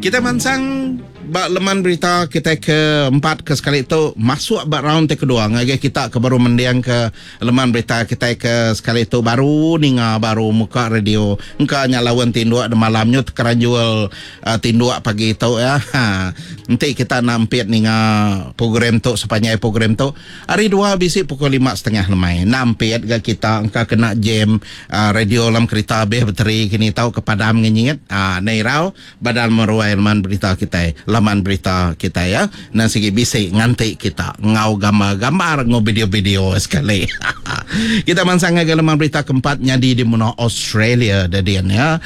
Kita mansang ba leman berita kitai ke empat ke sekali tu masuk ba round ti kedua ngagai kita ke baru mending ke leman berita kitai ke sekali tu baru ninga baru muka radio engka nya laun tinduk demalam nyu tekeranjul tinduk pagi tu ya. Ha enti kita enda empit ninga program tu sepanjai program tu hari dua bisi pukul lima setengah lemai enda empit ga kita engka kena jam Radio dalam kerita abih beteri kini tau ke padam ngenyit aa enda irau badal meruai laman berita kitai laman berita kitai ya nang sigi bisi nganti kita enggau gambar-gambar enggau video-video sekali haha kita mansang ngagai laman berita keempat nyadi di menua Australia dedin ya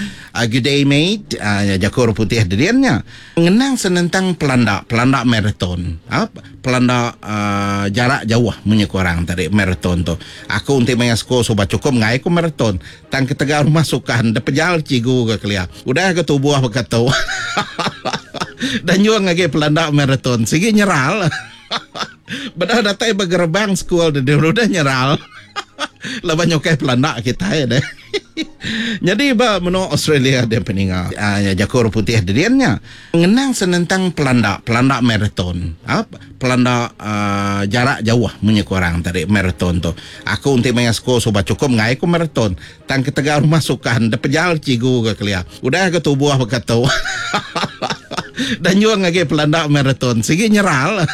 good day mate aa jaku orang putih dedin nya ngenang senentang pelanda pelanda marathon aa pelanda aa jarak jauh munyi ku orang tadi marathon tu. Aku enti maya sekul suba chukup enggai ku marathon. Tang ketegal rumah sukan dep pejal chigu ga kelia. Udah ga tubuh baka tu. Dah nyung agi pelanda marathon sigi nyeral. Beda datai ba gerebang sekul deh udah nyeral. Laban nyukai pelanda kitai deh. Nyadi ba menua Australia deh peninga jaku orang putih dedin nya. Ngenang senentang pelanda, pelanda marathon. Pelanda jarak jauh munyi ku orang tadi marathon tu. Aku enti maya sekul suba chukup enggai ku marathon. Tang ketegal rumah sukan dep pejal chigu ga kelia. Udah ga tubuh baka tu. Dah nyung agi pelanda marathon sigi nyeral.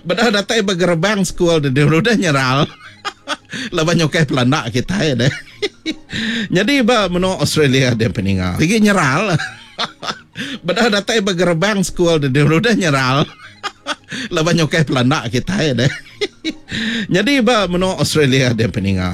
Beda datai ba gerebang sekul deh udah nyeral. Laban nyukai pelanda kitai deh. Nyadi ba menua Australia deh peninga sigi nyeral. Beda datai ba gerebang sekul deh udah nyeral. Laban nyukai pelanda kitai deh. Nyadi ba menua Australia deh peninga.